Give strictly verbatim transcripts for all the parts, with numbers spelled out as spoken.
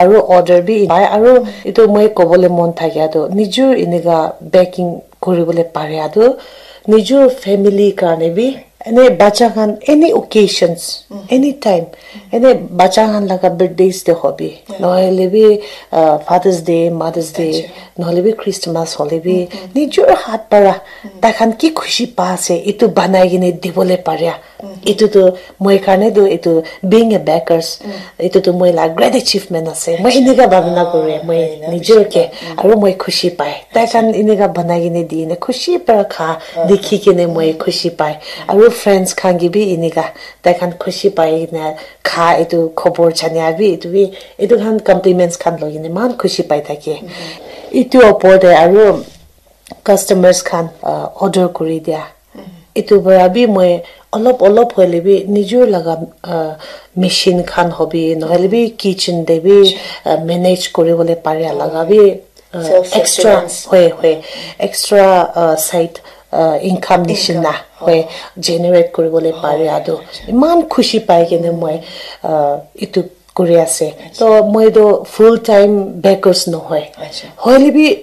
Aru order bi pai, aru etu moi kobole mon thakia tu nijor enika baking kuribole paria tu nijor family karne bi, ene bacha khan any occasions, anytime, ene bacha khan laga birthdays te hobi, nohole bi uh, Father's Day, Mother's Day, nohole bi Christmas hole bi nijor hat para tai khan ki khushi pa ase etu banai kene dibole paria. Etu tu moi karne tu etu being a bakers, etu tu moi la great achievement ase. Moi enika bhabna kore, moi nijor ke, aru moi khushi pai. Tai khan enika banai kene di ne khushi para kha dikhi kene moi khushi pai. Aru friends khan ke bi enika tai khan khushi pai na kha, etu khobor jania bi, etu bi, etu khan compliments khan loi kene eman khushi pai thake. Etu opor te aru customers khan uh, order kuri dia. Etu para bi moi olop olop hoile bi nijor laga uh, machine khan hobi, nohole bi kitchen te bi uh, manage kuribole paria laga bi uh, extra, hoi hoi, extra uh, side uh, income nishina hoi, generate kuribole paria tu iman khushi pai kene moi uh, etu kuri ase. To moi tu full time bakers nohoi, hoile bi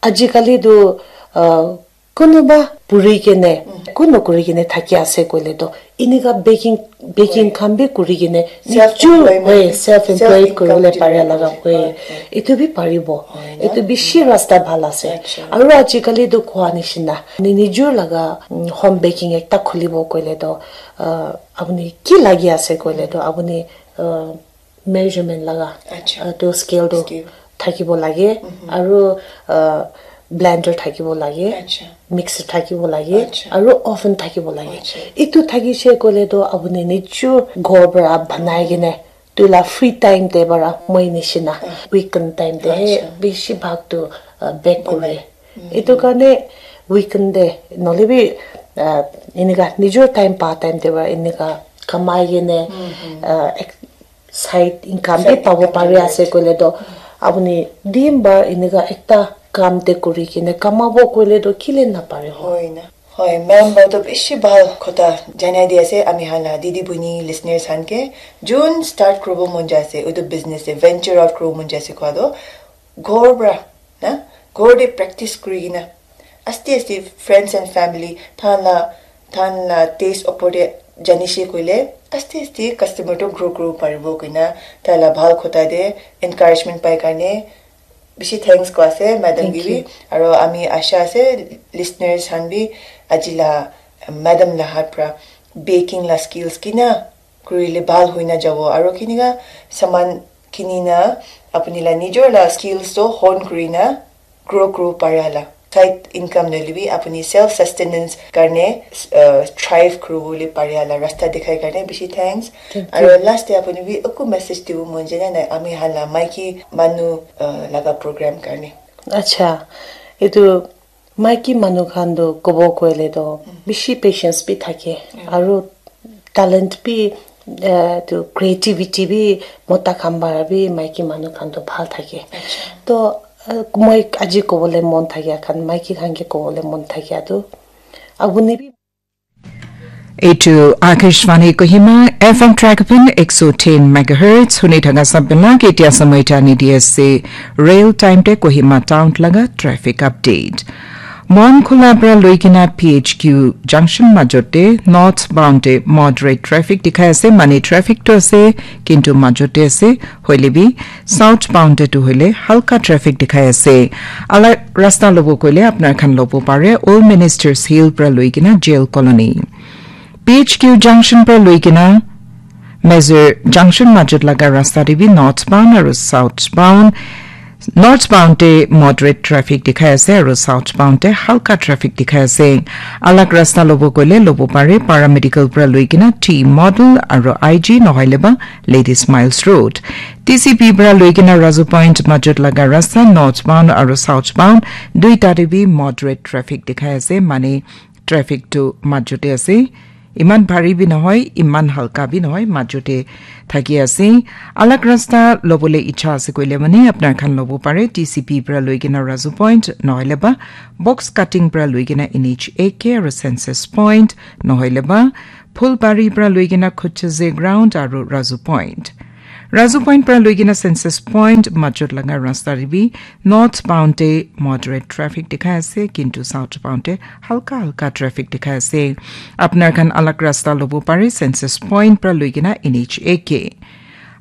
ajikali tu uh, kunuba puri kene, kun nokuri kene thaki ase koile to enika baking, baking khan bi kuri kene nijor hoi self employed kuribole paria laga hoi, etu bi paribo. Etu bishi rasta bhal ase. Aru ajikali to koa nishina ni nijor laga mm, home baking ekta khulibo koile to uh, apuni ki lagi ase koile to apuni uh, measurement laga uh, to scale to thakibo lage, aru uh, blender thakibo lage, mixer thakibo lage, aru oven thakibo lage. Etu thakise koile to apuni nijor ghor para banai kene tu la free time te para moi nishina weekend time te he bishi bhag tu uh, bake kore. Etu karne weekend te nohole bi uh, enika nijor time pa time te para enika kamai kene uh, ek- side income bi pabo pari ase koile to apuni din bhar enika ekta kam te kuri kene kamabo koile to kile napare ho. Hoi na. Hoi, ma'am para to bishi bhal kotha janai di ase ami khan la didi buini listeners khan ke, jun start kuribo mon jai ase etu business te venture out kuribo mon jai ase koa to ghor para na, ghor te practice kuri kena aste aste friends and family than la than la taste opor te janishe koile aste aste customer to grow grow paribo koina tai la bhal kotha te encouragement pai karne bishi thanks ko ase madam ke bi. Aro ami asha ase listeners khan bi aji la madam la hat pra baking la skills kina kurile bhal hoina jabo aro kinika saman kinina apuni la nijor la skills to hone kurina grow kuro paria la side income nohoile bi apuni self sustenance karne uh, thrive kuribole paria la rasta dikhai karne bishi thanks. Aro last te apuni bi eku message dibo mon jane nai ami khan la maiki manu uh, laga program karne. Acha, etu maiki manu khan tu kobo koile tu bishi patience bi thake, aro talent bi uh, tu creativity bi mota khan para bi maiki manu khan tu bhal thake. To uh, moi aji kobole mon thakia khan maiki khan ke kobole mon thakia tu apuni bi. Eitu Akashvani Kohima F M track pin ek so tin megahertz huni thaka sabela ke tia samai tani D S C rail time te Kohima town laga traffic update. Mon khula pra loikena P H Q junction majote north bound te moderate traffic dikhai ase, mane traffic to ase kintu majote ase, hoile bi south bound te tu hoile halka traffic dikhai ase. Ala rasta lobo koile apnar khan lobo pare Old Ministers Hill pra loikena Jail Colony. P H Q junction pra loikena Major junction majot laga rasta te bi north bound aru south bound north bound te moderate traffic dikhai ase aru south bound te halka traffic dikhai ase. Alag rasta lobo koile lobo pare paramedical pra loikena T model aru I G nohoile ba Ladies Miles Road. T C P pra loikena Razu Point majot laga rasta north bound aru south bound duita te bi moderate traffic dikhai ase, mane traffic tu majote ase. Iman bhari bi nohoi, iman halka bi nohoi, majote thaki ase. Alag rasta lobole icha ase koile mane apnar khan lobo pare T C P pra loikena Razu Point nohoile ba box cutting pra loikena N H A K aru Census Point nohoile ba Phulbari pra loikena Khuchaze Ground aru Razu Point. Razu Point pra loikena Census Point majot laga rasta te bi northbound te moderate traffic dikhai ase, kintu southbound te halka halka traffic dikhai ase. Apnar khan alag rasta lobo pare Census Point pra loikena N H A K.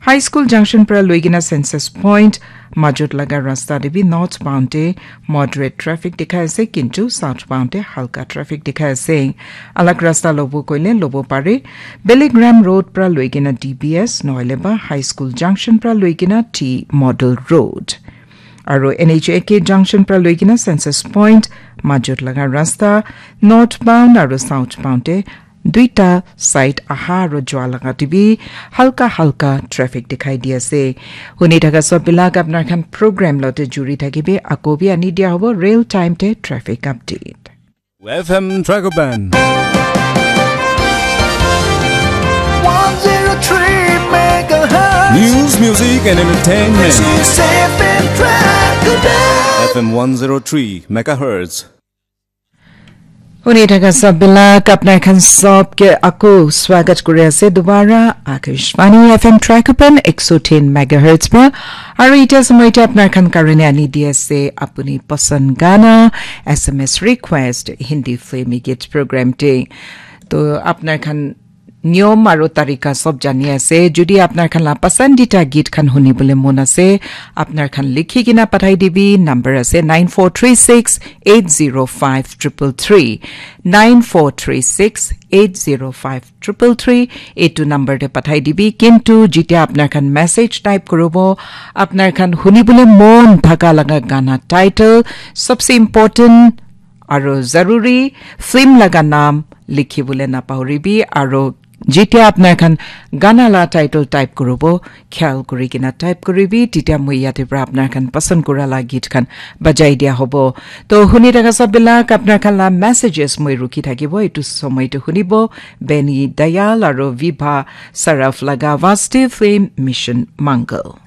High School Junction pra loikena Census Point majot laga rasta te bi northbound te moderate traffic dikhai ase, kintu southbound te halka traffic dikhai ase. Alag rasta lobo koile lobo pare Bellingham Road pra loikena D B S nohole ba High School Junction pra loikena T Model Road. Aru N H A K Junction pra loikena Census Point majot laga rasta northbound aru southbound te duita side aha aru jua laga te bi halka halka traffic dikhai di ase. Huni thaka sob bilak apnar khan program lote juri thakibi, ako bi ani dia hobo real time te traffic update. F M Dragoban. one zero three megahertz. News, music, and entertainment. This is F M Dragoban. F M one zero three megahertz. Huni thaka sob bilak apnar khan sob ke ako swagat kuri ase dobara Akashvani F M Dragoban ek so tin megahertz pra. Aru ita samay ita apnar khan karone ani di ase apuni pasand gana, S M S request, Hindi filmi git program te. To apnar khan niyom aru tarika sob jani ase. Jodi apnar khan la pasandita git khan huni bole mon ase, apnar khan likhi kena pathai dibi. Number ase nine four three six eight zero five triple three, nine four three six eight zero five triple three. Etu number te pathai dibi. Kintu jitia apnar khan message type kuribo, apnar khan huni bole mon thaka laga gana title, sabse important aru zaruri film laga naam likhi bole napahoribi. Aru jitia apnar khan gana la title type kuribo, khayal kuri kena type kuribi, titia moi yate pra apnar khan pasand kura la git khan bajai dia hobo. To huni thaka sob bilak apnar khan la messages moi rukhi thakibo. Etu somoy te hunibo Benny Dayal aru Vibha Saraf laga Vaste Film Mission Mangal.